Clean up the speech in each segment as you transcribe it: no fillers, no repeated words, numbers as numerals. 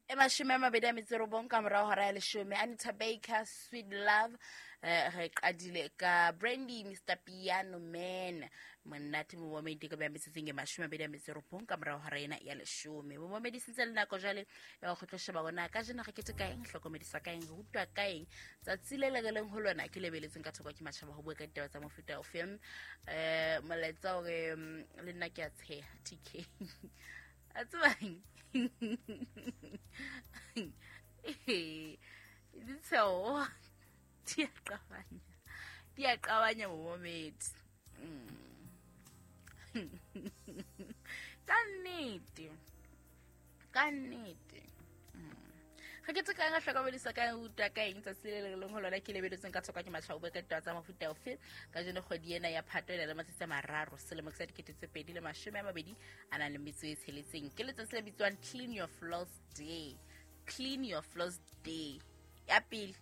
E 29 ka morao hora ya 10. Anita Baker, Sweet Love. Re qadile ka Brandy, Mr Piano Man. Monate momamedi ka beha metsotsong e 29 ka morao hora ena ya 10. Momamedi sentse le nako jwale ya go tlo sheba bona ka jena re kete ka eng, hlokomediswa ka eng, re rutwa ka eng. Tsatsi le le re leng ho lona ke lebeletseng ka thoko ke matjhaba ho bua ka ditaba tsa mofuta o feng. Molaetsa hore le nna ke a tsheha TK. A tsebang ditsheo di a qabanya, di a qabanya momamedi. Ka nnete, ka nnete. Re ke tse ka re hlokomedisa ka utlwa ka eng tsatsi le le leng ho lona ke lebeletseng ka tshoka ke matjhaba o bua ka ditaba tsa mofuta ofe. Ka jeno kgwedi ena ya Phato e na le matsatsi a 3 selemo sa 2026. Ke letsatsi le bitswang Clean Your Floors Day. Clean Your Floors Day. Ya pele,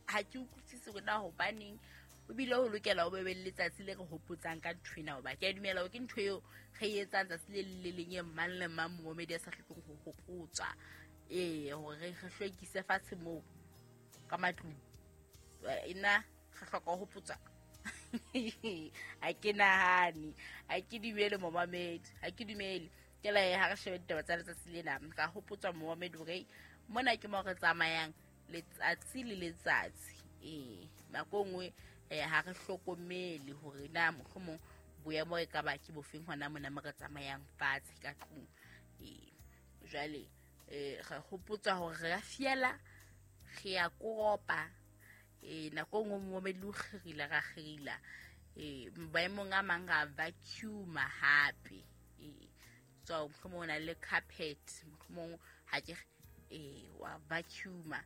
ha ke utlwisise hore na hobaneng o bile ho lokela ho be le letsatsi le re hopotsang ka ntho ena, hoba ke a dumela hore ke ntho eo re e etsang tsatsi le le leng e mang le mang momamedi a sa hlokeng ho hopotswa. Hore re hlwekise fatshe moo ka matlung. Ena re hloka ho hopotswa. Ha ke nahane, ha ke dumele momamedi, ha ke dumele. Ke la ha re shebe ditaba tsa letsatsi lena, ka hopotswa momamedi hore mona ke mo re tsamayang letsatsi le letsatsi. Nako nngwe ha re hlokomele hore na mohlomong boemo e ka ba ke bofeng hona mona mo re tsamayang fatshe ka tlung. Jwale re hopotswa hore re a fiela, re a koropa. Nako nngwe momamedi o kgerila, ra kgerila. Maemong a mang ra vacuum-a hape. So mohlomong o na le carpet, mohlomong ha ke wa vacuum-a,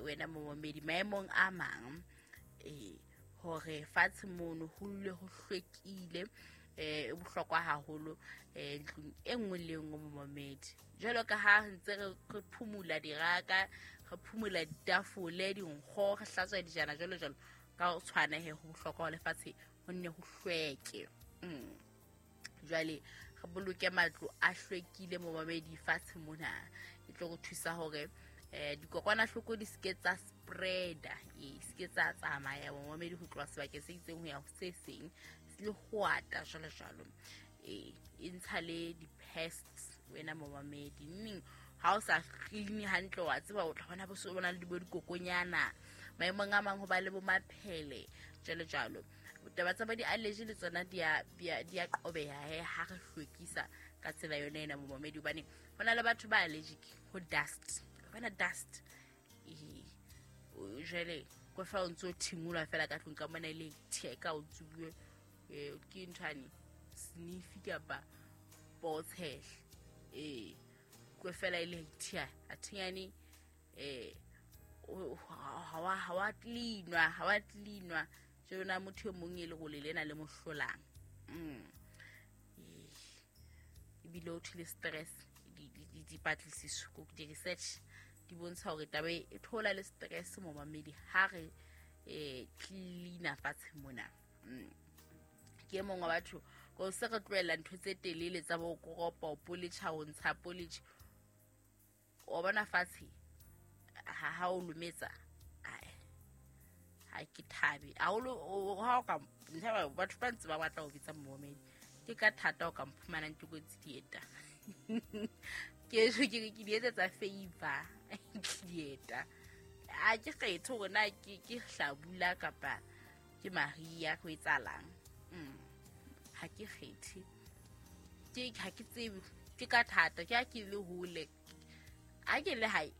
wena momamedi maemong a mang, hore fatshe mono ho dule ho hlwekile. E bohlokwa haholo ntlong e nngwe le e nngwe momamedi. Jwalo ka ha re ntse re phumula diraka, re phumula ditafole, dinkgo, re hlatswa dijana jwalo jwalo, ka ho tshwana he ho bohlokwa ho lefatshe ho nne ho hlweke. Jwale re boloke matlo a hlwekile momamedi fatshe mona, e tlo re thusa hore dikokwanahloko di seke tsa spreada, seke tsa tsamaya momamedi ho tloha sebakeng se itseng ho ya ho se seng, le ho ata jwalo jwalo. E ntsha le di-pests wena momamedi. Neng ha o sa clean hantle wa tseba o tla bona bo so bona le bo dikokonyana, maemong a mang ho ba le bo maphele jwalo jwalo. Taba tsa bo di-allergy le tsona di a qobeha he ha re hlwekisa ka tsela yona ena momamedi, hobane ho na le batho ba allergic ho dust. Bona dust jwale ko fa o ntso thingolwa fela ka tlung ka mona e le theka o tsubuwe ke nthwane sniffy kapa potshehle. Ko fela e le thia a thinyane ha wa cleanwa, ha wa cleanwa. Jona motho e mong e le go lena le mohlolang. Ebile o thile stress, dipatlisiso ko di research di bontsha hore taba e thola le stress momamedi ha re cleaner fatshe mona. Ke mongwe wa batho ko se re tlohella ntho tse telele tsa bo koropa, poletjha, ho ntsha poletjha. O bona fatshe ha o lometsa, ha ke thabe haholo ha o ka ntha batho ba ntse ba batla ho bitsa momamedi. Ke ka thata o ka mphumanang ke kotsi dieta. Ke so ke ke di etsetsa favor dieta. A ke kgethe hore na ke hlabula kapa ke Maria ho etsahalang. Ha ke kgethe. Ke ha ke tsebe, ke ka thata ke ha ke le hole. Ha ke le hae.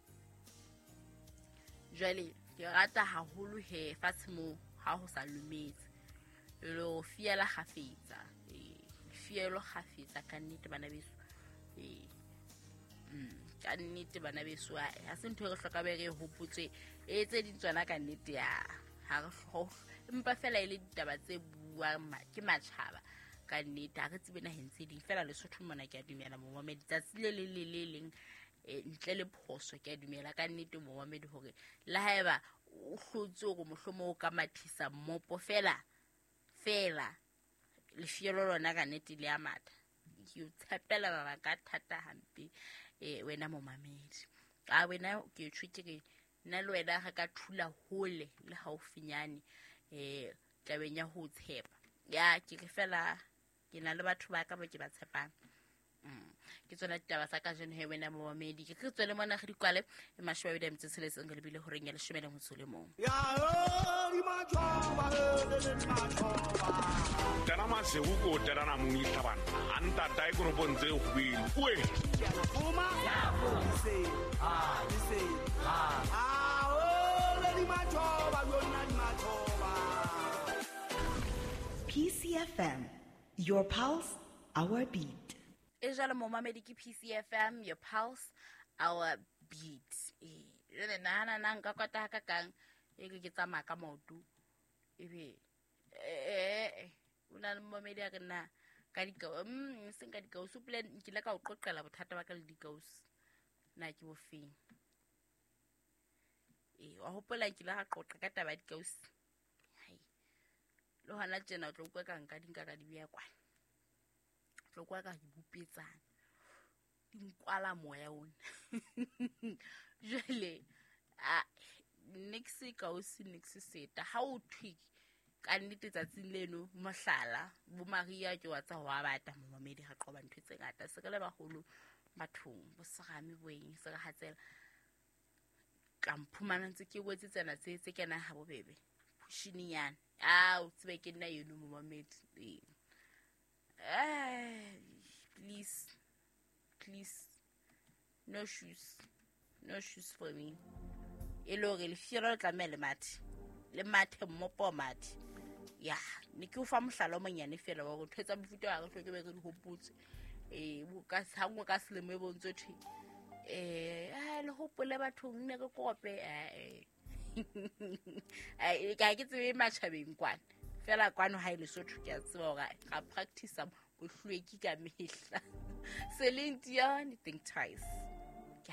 Jwale ke rata haholo he fatshe moo ha ho sa lumetse. Le ho fiela kgafetsa. Fielo kgafetsa ka nnete bana beso. Ka nnete bana beso, ha se ntho e re hloka be re hopotse e tse ding tsona ka nnete ya ha re empa fela e le ditaba tse buang ke matjhaba ka nnete. Ha re tsebe naheng tse ding fela Lesotho mona ke a dumela momamedi tsatsi le le le le leng ntle le phoso ke a dumela ka nnete momamedi hore le haeba o hlotse hore mohlomong o ka mathisa mmopo fela fela lefielo lona ka nnete le a matha. Ke o tshepela mabaka a thata hampe wena momamedi. A wena ke tjho ke re nna le wena re ka thula hole le haufinyane tabeng ya ho tshepa. Ya ke re fela ke na le batho ba ka ba ke ba tshepang. Ke tsona ditaba tsa kajeno he wena momamedi. Ke re tswele mona re di kwale e 26 re lebile horeng ya 11. Tana masewu ko tana muni tabana anta dai ko bonze hwil we PCFM, your pulse, our beat. E jalo momamedi ke PCFM, your pulse, our beat. Jwale nahana na nka kwata ha ka kang e ke tsamaya ka maoto ebe o na le momamedi a re na ka dikausi seng ka dikausi plan nkile ka o qoqela bothata ba ka le dikausi na ke bofeng. Wa hopola nkile ga qoqa ka taba ya dikausi. Hai le hona tjena o tlo utlwa ka nka di nka ka di beha kwana. Tlo kwa ka di bopetsana di nkwala moya ona. Jwale a next kausi next seta ha o thwe ka nnete tsatsing leno mohlala bo Maria ke wa tsa ho bata momamedi ga qoba ntho tse ngata se ka le baholo bathong bo serame boeng se re hatsela ka mphumana ntse ke wetse tsena tse kena ha bobebe pushininyana a o tsebe ke nna yeno momamedi. Please, please, no shoes, no shoes for me. E le hore lefielo le tlameha le mathe, le mathe mmopo mathe. Ya, ne ke o fa mohlala o monyane feela wa hore ntho tsa mofuta wa re hloke be re di hopotse. Ka hangwe ka selemo e bontse thwe. Le hopole bathong ne re kope. Ka ke tsebe matjhabeng kwana. Fela kwano ha ile Lesotho ke a tseba hore ga practice bohlweki ka mehla. Celine Dion, think twice.